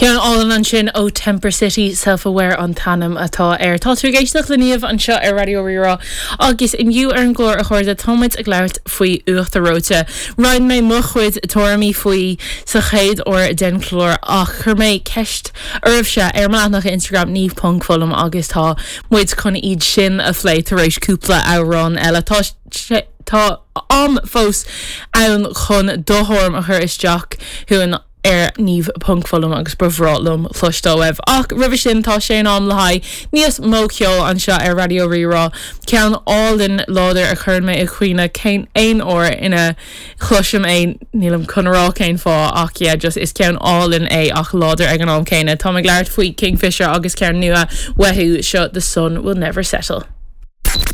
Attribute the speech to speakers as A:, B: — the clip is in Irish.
A: Ceann álainn ansin ó Temper City, Self Aware an t-ainm atá air. Tá tú ag éisteacht le Niamh anseo ar Raidió Rí-Rá agus inniu ar an gclár, a chairde, tá muid ag labhairt faoi uachtar reoite. Roinn mé mo chuid tuairimí faoi sa chéad uair den chlár ach chuir mé ceist oraibhse ar mo leathanach Instagram niamh ponc fullam agus tá muid chun iad sin a phlé tar éis cúpla amhrán eile. Tá sé tá am fós ann chun do thuairim a chur isteach chugainn. ar Niamh ponc Fullam agus ba bhreá liom cloisteáil uaibh. Ach roimhe sin tá sé in am le haghaidh níos mó ceoil anseo ar Raidió Rí-Rá. Ceann álainn láidir a chuireann mé i gcuimhne cén aon uair ina chloisim é, nílim chun a rá cén fáth ach yeah just is ceann álainn é ach láidir ag an am céanna. Táim ag labhairt faoi Kingfisher agus ceann nua uathu seo The Sun Will Never Settle.